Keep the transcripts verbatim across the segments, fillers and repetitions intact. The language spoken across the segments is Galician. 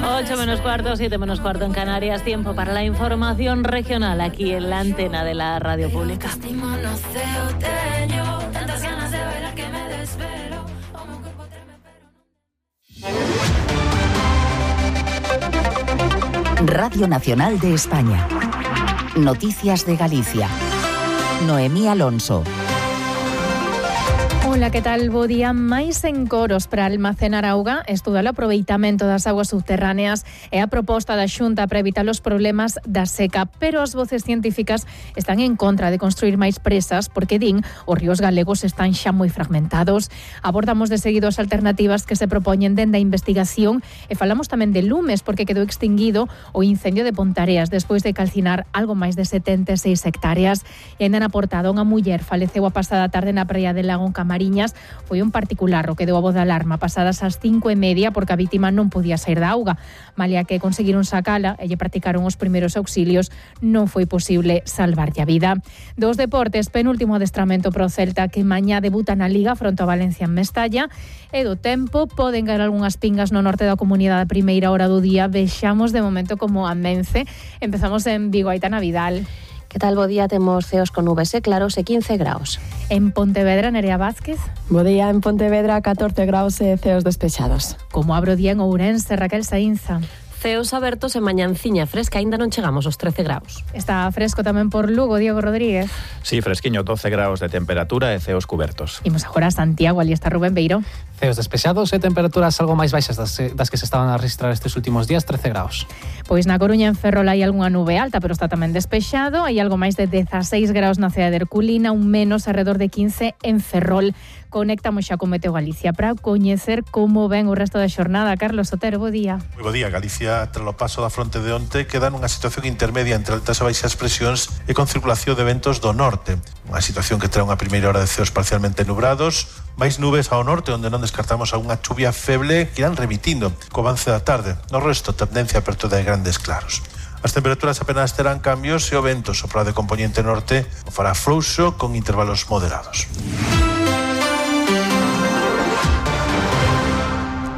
ocho menos cuarto, siete menos cuarto en Canarias. Tiempo para la información regional aquí en la antena de la radio pública. Radio Nacional de España. Noticias de Galicia. Noemí Alonso. Ola, que tal? Bo día. Máis encoros para almacenar auga, estudar o aproveitamento das augas subterráneas e a proposta da Xunta para evitar os problemas da seca, pero as voces científicas están en contra de construir máis presas porque, din, os ríos galegos están xa moi fragmentados. Abordamos de seguido as alternativas que se propoñen dende a investigación e falamos tamén de lumes porque quedou extinguido o incendio de Pontareas despois de calcinar algo máis de setenta e seis hectáreas. E ainda na portada, unha muller faleceu a pasada tarde na praia de Lago en Camariñas. Foi un particular o que deu a voz de alarma pasadas as cinco e media porque a vítima non podía sair da auga. Malia que conseguiron sacala e lle practicaron os primeiros auxilios, non foi posible salvarlle a vida. Dos deportes, penúltimo adestramento pro Celta que mañá debuta na Liga fronte ao Valencia en Mestalla. E do tempo, poden caer algunhas pingas no norte da comunidade a primeira hora do día. Vexamos de momento como amence. Empezamos en Vigo, Aitana Vidal. Que tal, bo día? Temos ceos con nubes e claros e quince graus. En Pontevedra, Nerea Vázquez. Bo día, en Pontevedra, catorce graus e ceos despechados. Como abro día en Ourense, Raquel Saínza. Ceos abertos e mañanciña fresca, aínda non chegamos aos trece graus. Está fresco tamén por Lugo, Diego Rodríguez. Sí, fresquiño, doce graus de temperatura e ceos cubertos. Imos agora a Santiago, ali está Rubén Beiro. Ceos despexados e temperaturas algo máis baixas das, das que se estaban a registrar estes últimos días, trece graus. Pois na Coruña, en Ferrol, hai algunha nube alta, pero está tamén despexado. Hai algo máis de dezaseis graus na cidade de Herculina, un menos alrededor de quince en Ferrol. Conectamos xa con Meteo Galicia para coñecer como ven o resto da xornada. Carlos Sotero, bo día. Moi bo día. Galicia, tras o paso da fronte de onte, queda nunha situación intermedia entre altas e baixas presións e con circulación de ventos do norte. Unha situación que trae unha primeira hora de ceos parcialmente nubrados, máis nubes ao norte, onde non descartamos algunha chuvia feble que irán remitindo co avance da tarde. No resto, tendencia a apertura de grandes claros. As temperaturas apenas terán cambios e o vento sopra de componente norte o fará frouxo con intervalos moderados.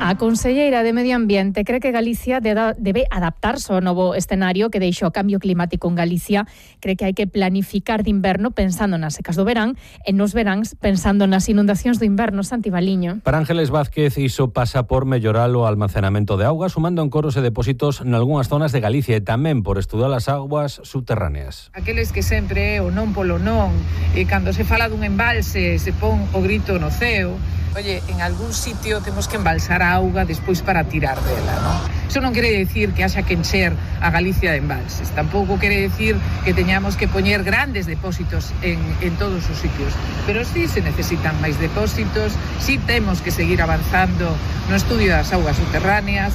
A conselleira de Medio Ambiente cree que Galicia debe adaptarse ao novo escenario que deixou o cambio climático en Galicia. Cree que hai que planificar de inverno pensando nas secas do verán e nos veráns pensando nas inundacións do inverno. Santi Baliño. Para Ángeles Vázquez, iso pasa por mellorar o almacenamento de auga, sumando encoros e depósitos nalgúnas zonas de Galicia e tamén por estudar as augas subterráneas. Aqueles que sempre o non polo non, e cando se fala dun embalse se pon o grito no ceo. Oye, en algún sitio temos que embalsar a auga despois para tirar dela, ¿no? Eso non quere decir que haxa que encher a Galicia de embalses. Tampouco quere decir que teñamos que poñer grandes depósitos en, en todos os sitios. Pero sí se necesitan máis depósitos, sí temos que seguir avanzando no estudio das augas subterráneas.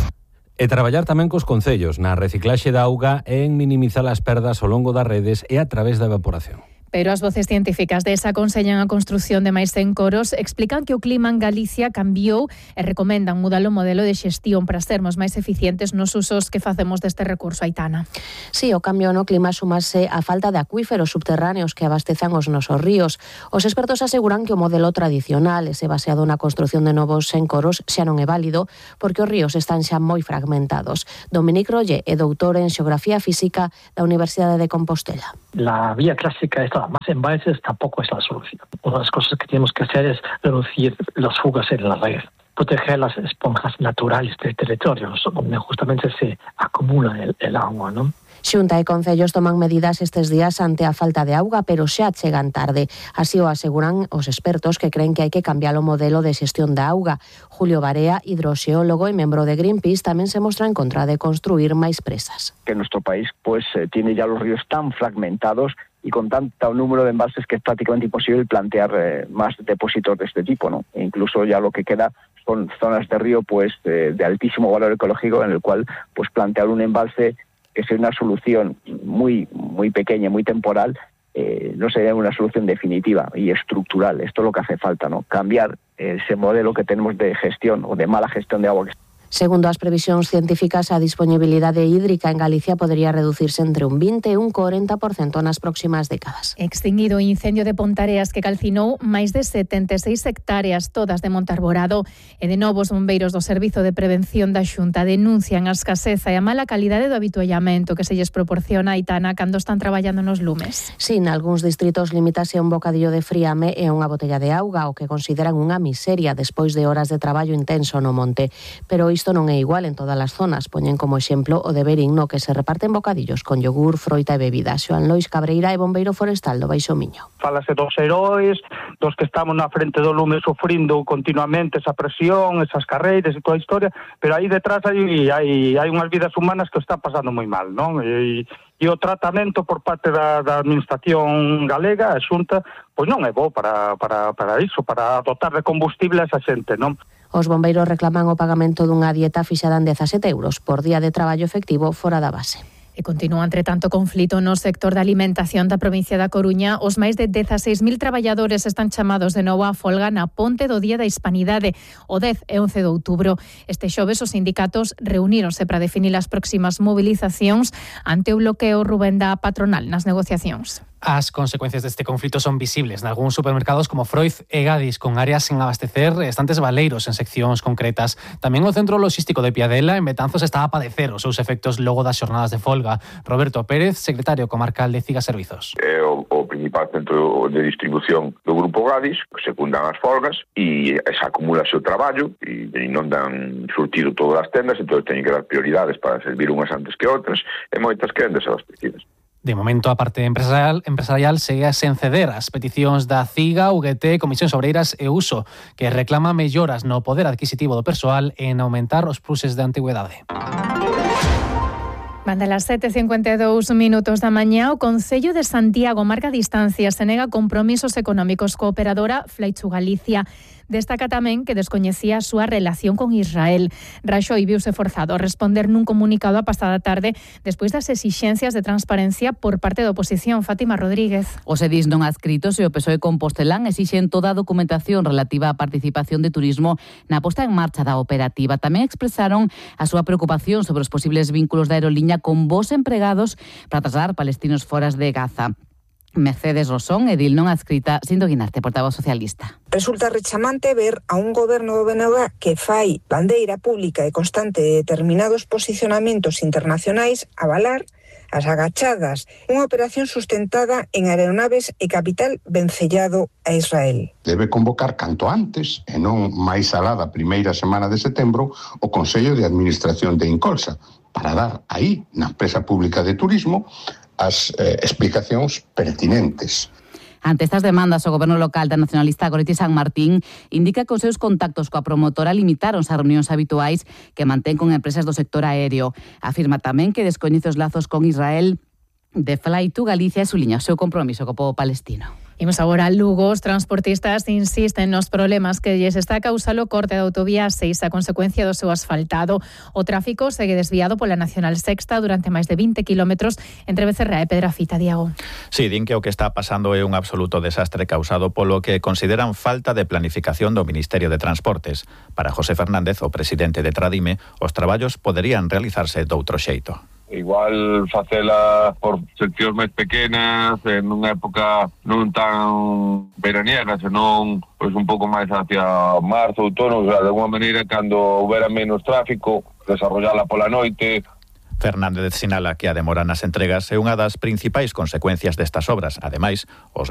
E traballar tamén cos concellos na reciclaxe da auga e en minimizar as perdas ao longo das redes e a través da evaporación. Pero as voces científicas desa aconsellan a construción de máis encoros, explican que o clima en Galicia cambiou e recomendan mudar o modelo de xestión para sermos máis eficientes nos usos que facemos deste recurso, Aitana. Sí, o cambio no clima sumase a falta de acuíferos subterráneos que abastezan os nosos ríos. Os expertos aseguran que o modelo tradicional, ese baseado na construción de novos encoros, xa non é válido porque os ríos están xa moi fragmentados. Dominic Rolle é doutor en Xeografía Física da Universidade de Compostela. La vía clásica es más embalses, tampoco es la solución. Una de las cosas que tenemos que hacer es reducir las fugas en la red, proteger las esponjas naturales del territorio, donde justamente se acumula el, el agua, ¿no? Xunta e concellos toman medidas estes días ante a falta de auga, pero xa chegan tarde. Así o aseguran os expertos que creen que hai que cambiar o modelo de xestión da auga. Julio Barea, hidroxeólogo e membro de Greenpeace, tamén se mostra en contra de construir máis presas. Que nuestro país pues eh, tiene ya los ríos tan fragmentados y con tanto número de embalses que es prácticamente imposible plantear eh, más depósitos de este tipo, ¿no? E incluso ya lo que queda son zonas de río pues eh, de altísimo valor ecológico en el cual pues plantear un embalse que sea una solución muy muy pequeña, muy temporal, eh, no sería una solución definitiva y estructural. Esto es lo que hace falta, ¿no? Cambiar ese modelo que tenemos de gestión o de mala gestión de agua. Segundo as previsións científicas, a disponibilidade hídrica en Galicia podería reducirse entre un vinte e un corenta por cento nas próximas décadas. Extinguido o incendio de Pontareas que calcinou máis de setenta e seis hectáreas, todas de Monte Arborado, e de novo os bombeiros do Servizo de Prevención da Xunta denuncian a escaseza e a mala calidade do habituallamento que se lles proporciona a Aitana cando están traballando nos lumes. Sí, nalgúns distritos limítase a un bocadillo de friame e unha botella de auga, o que consideran unha miseria despois de horas de traballo intenso no monte. Pero isto non é igual en todas as zonas. Poñen como exemplo o de Berín, no que se reparten bocadillos con yogur, froita e bebida. Xoan Lois Cabreira é bombeiro forestal do Baixo Miño. Fálase dos heróis, dos que estamos na frente do lume sufrindo continuamente esa presión, esas carreiras e toda a historia, pero aí detrás hai, hai, hai unhas vidas humanas que o están pasando moi mal, non? E, e o tratamento por parte da, da administración galega, a Xunta, pois non é bo para, para, para iso, para dotar de combustible a esa xente, non? Os bombeiros reclaman o pagamento dunha dieta fixada en dezasete euros por día de traballo efectivo fora da base. E continúa, entre tanto, conflito no sector da alimentación da provincia da Coruña. Os máis de dezaseis mil traballadores están chamados de novo á folga na ponte do Día da Hispanidade, o dez e once de outubro. Este xoves os sindicatos reuníronse para definir as próximas movilizacións ante o bloqueo, Rubén, da patronal nas negociacións. As consecuencias deste conflito son visibles nalgúns supermercados como Froiz e Gadis, con áreas sen abastecer e estantes baleiros en seccións concretas. Tamén o centro logístico de Piadela, en Betanzos, está a padecer os seus efectos logo das xornadas de folga. Roberto Pérez, secretario comarcal de Ciga Servizos. É o, o principal centro de distribución do Grupo Gadis, que secundan as folgas e esa acumulaxe o traballo e, e non dan surtido todas as tendas, entón teñen que dar prioridades para servir unhas antes que outras e moitas queden desabastecidas. De momento, a parte empresarial, empresarial segue sen ceder as peticións da CIGA, U G T, Comisións Obreiras e Uso, que reclama melloras no poder adquisitivo do persoal e en aumentar os pluses de antigüedade. Banda las sete e cincuenta e dous minutos da mañá, o Concello de Santiago marca distancias e nega compromisos económicos co operadora Fleichu Galicia. Destaca tamén que descoñecía a súa relación con Israel. Raxoi viuse forzado a responder nun comunicado a pasada tarde despois das exixencias de transparencia por parte da oposición. Fátima Rodríguez. Os edís non adscritos e o P S O E Compostelán exixen toda a documentación relativa á participación de turismo na posta en marcha da operativa. Tamén expresaron a súa preocupación sobre os posibles vínculos da aeroliña con vos empregados para trasladar palestinos foras de Gaza. Mercedes Rosón, edil non adscrita, Sindo Guinarte, portavoz socialista. Resulta rechamante ver a un goberno do B N G que fai bandeira pública e constante de determinados posicionamentos internacionais avalar as agachadas unha operación sustentada en aeronaves e capital vencellado a Israel. Debe convocar canto antes, e non máis alá da primeira semana de setembro, o Consello de Administración de Incolsa, para dar aí, na empresa pública de turismo, as eh, explicacións pertinentes. Ante estas demandas, o goberno local da nacionalista Goretti San Martín indica que os seus contactos coa promotora limitaronse as reunións habituais que mantén con empresas do sector aéreo. Afirma tamén que descoñece os lazos con Israel de Fleichu Galicia e suliña o seu compromiso co pobo palestino. Imos agora a Lugo. Os transportistas insisten nos problemas que lles está a causar o corte da autovía seis a consecuencia do seu asfaltado. O tráfico segue desviado pola Nacional Sexta durante máis de vinte kilómetros entre Becerra e Pedrafita. Diago. Sí, din que o que está pasando é un absoluto desastre causado polo que consideran falta de planificación do Ministerio de Transportes. Para José Fernández, o presidente de Tradime, os traballos poderían realizarse doutro xeito. Igual facela por seccións máis pequenas, en unha época non tan veraniega, senón pois un pouco máis hacia marzo, outono, o sea, de alguma maneira, cando houbera menos tráfico, desarrollala pola noite. Fernández sinala que a demora nas entregas é unha das principais consecuencias destas obras. Ademais, os